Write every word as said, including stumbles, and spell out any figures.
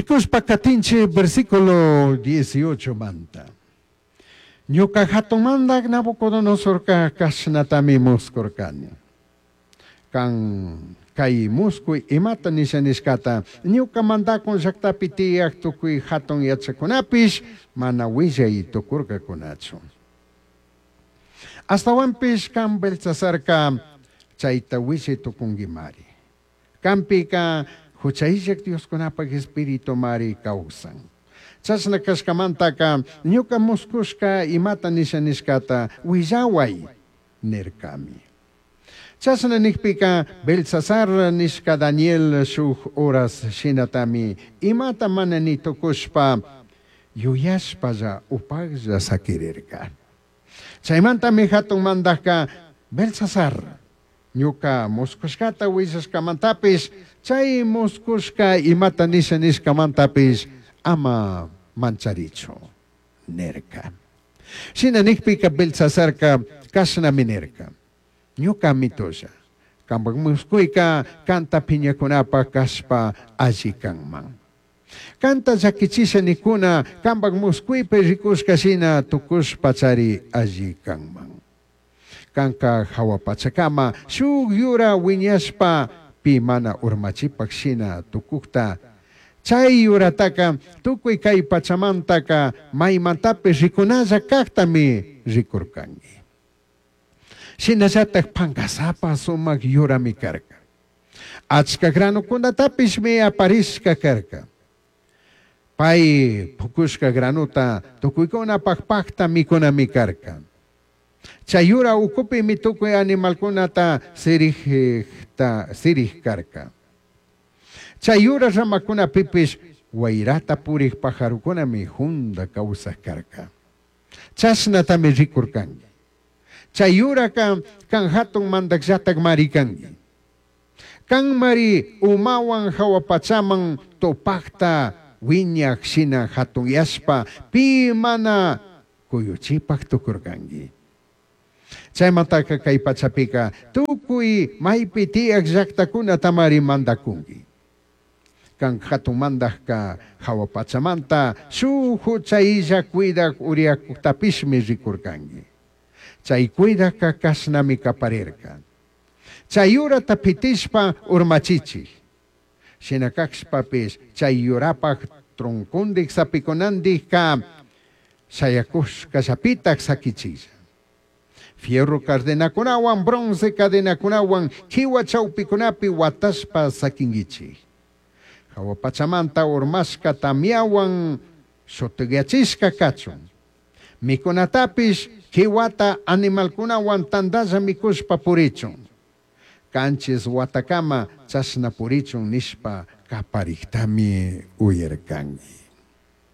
Rikuspa katinchik versículo dieciocho manta. Ñuka hatun mandak Nabucodonosorka kashnatami muskurkani. Kan kay muskuy imata nisha nishkata ñuka mandakun llaktapi tiyaq tukuy hatun yachakunapish mana willay tukurkakunachu. Astawanpish kan Belsasarka chayta willay tukunkimari. Kanpika huchayllak Dioskunapak espíritu mari kawsan. Chashna kashkamantaka ñuka muskushka imata nisha nishkata willaway nirkami. Chashna nikpika Belsasar nishka Daniel shuk horas shinatami imata mana ni tukushpa yuyashpalla upaklla sakirirka. Chaymantami hatun mandajka Belsasar ñuka muskushkata willashkamantapish chay muskushka imata nisha nishkamantapish ama mancharichu nirka. Shina nikpika Belsasarka kashnami nirka. Ñuka mitulla, kampak muskuyka kanta piñakunapaq kashpa alli kanman. Kanta llakichisha nikuna kampak muskuypi rikushka shina tukushpa chari alli kanman. Kanka hawa pachakama shuk yura wiñashpa pi mana urmachipak shina tukukta. Chay yurataka tukuy kay pachamantaka maymantapish rikunalla kaktami rikurkanki. Shinallatak pankasapa sumak yurami karka. Achka granukunatapishmi aparishka karka. Pay pukushka granuta tukuykunapak pakta mikunami karka. Chay yura ukupimi tukuy animalkunata sirij-ta, sirij karka. Chay yura ramakunapipish wayrata purik pajarukunami junda kawsaj karka. Chashnatami rikurkanki. Chay yuraka kan hatun mandakllatak mari kanki. Kan mari umawan hawa pachaman tupakta wiñaq shina hatunyashpa pi mana kuyuchipak tukurkanki. Chaymantaka kay pachapika tukuy maypi tiyaq llaqtakunata mari mandakunki. Kan hatun mandajka hawa pachamanta shuk huchaylla cuidak uriyakuktapishmi rikurkanki. Chay cuidakka kashnami kaparirka. Chay yurata pitishpa urmachichik. Shina kashpapish chay yurapak troncondik sapikunandikka shayakushkallapitak sakichilla. Fierro cadenakunawan, bronce cadenakunawan, kiwa chawpikunapi watashpa sakinkichik. Hawa pachamanta urmashka tamyawan shutuyachishka kachun. Mikunatapish kiwata animalkunawan tandalla mikushpa purichun. Kanchis watakama chashna purichun nishpa kapariktami uyarkanki.